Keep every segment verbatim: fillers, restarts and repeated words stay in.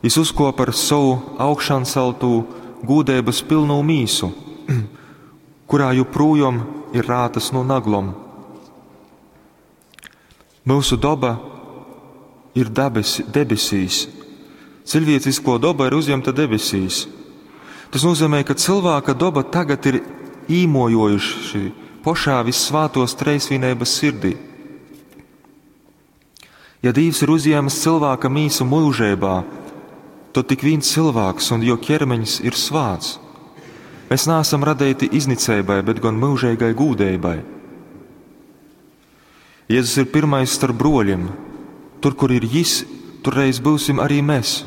Jis uzkuop ar sovu augšanceltū gūdeibys pylnū mīsu, kurā joprūjom ir rātys nu naglom. Myusu doba ir dabesi, debesīs. Ciļvieciskuo doba ir uzjemta debesīs. Tas nozīmē, ka cilvēka doba tagad ir īmojojuši pošā vissvātos treisvīneibys sirdī. Ja Dīvs ir uzjēmis cilvēka mīsu mūžībā, tad tik viens cilvēks un jo ķermeņs ir svāts. Mēs neesam radīti iznicībai, bet gan mūžīgai gūdībai. Jēzus ir pirmais starp broļiem. Tur, kur ir Jis, tur reiz būsim arī mēs.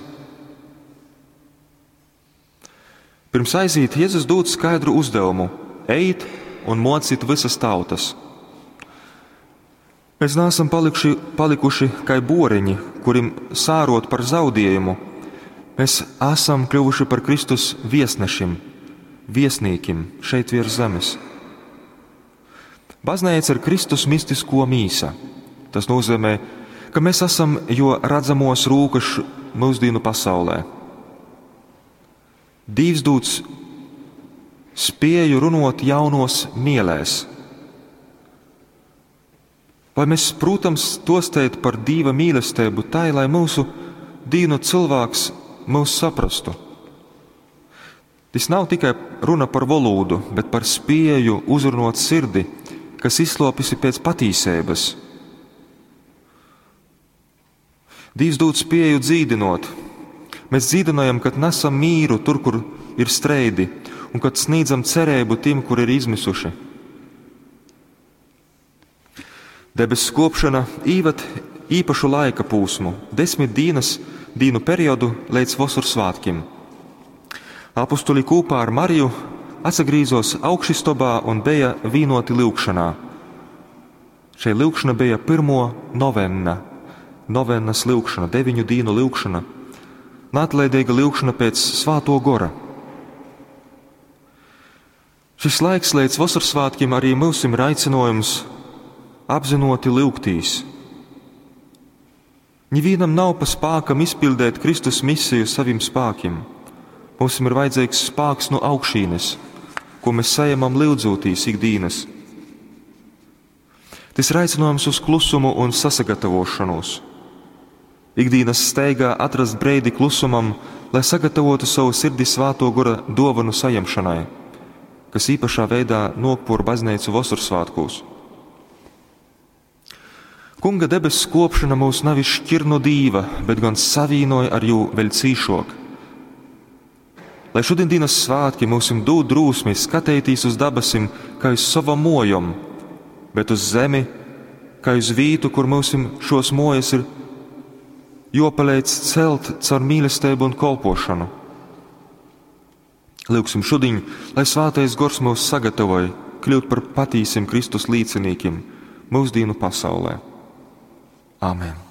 Pirms aiziet, Jēzus dod skaidru uzdevumu: ejiet un mocīt visas tautas. Mēs neesam palikuši, palikuši kā boriņi, kurim sārot par zaudējumu. Mēs esam kļuvuši par Kristus viesnešim, viesnīkim šeit virs zemes. Baznīca ir Kristus mistisko mīsa. Tas nozīmē, ka mēs esam jo redzamos rūkas mūsdienu pasaulē. Dīvs dūts spēju runot jaunos mielēs. Vai mēs, protams, tostēt par Dīva mīlestību tai, lai mūsu dīnu cilvēks mūs saprastu? Tas nav tikai runa par valodu, bet par spēju uzrunot sirdi, kas izslopisi pēc patīsības. Dīvs dod spēju dzīdinot. Mēs dzīdinojam, kad nesam mīru tur, kur ir streidi, un kad sniedzam cerību tiem, kur ir izmisuši. Debesu kopšana īvad īpašu laika pūsmu, desmit dienas, dīnu periodu līdz vasaras svētkiem. Apustuļi kopā ar Mariju atsagrīzos augšistobā un bija vīnoti lūgšanā. Šai lūgšana bija pirmo novenna, novennas lūgšana, deviņu dienu lūgšana, neatlaidīga lūgšana pēc svāto gora. Šis laiks līdz vasaras svētkiem arī mūsim ir aicinājums apzinoti lūgtīs. Nevienam nav pa spākam izpildēt Kristus misiju saviem spākiem. Mums ir vajadzīgs spāks no augšīnes, ko mēs saņemam lūdzotīs ikdienas. Tas ir aicinājums uz klusumu un sasagatavošanos. Ikdienas steigā atrast breidi klusumam, lai sagatavotu savu sirdi svāto gora dovanu saņemšanai, kas īpašā veidā nokpūr baznīcu vasaras. Kunga debesu kopšana mūs nav šķir no dīva, bet gan savīnoja ar jū vēl cīšok. Lai šodienas svētki mūsim dod drūsmi skatīties uz dabasim, kā uz savam mojom, bet uz zemi, kā uz vītu, kur mūsim šos mojas ir jopalēc celt caur mīlestību un kolpošanu. Lūksim šodien, lai svētais gors mūs sagatavoja kļūt par patīsim Kristus līdzinīkim mūsdienu pasaulē. Āmen!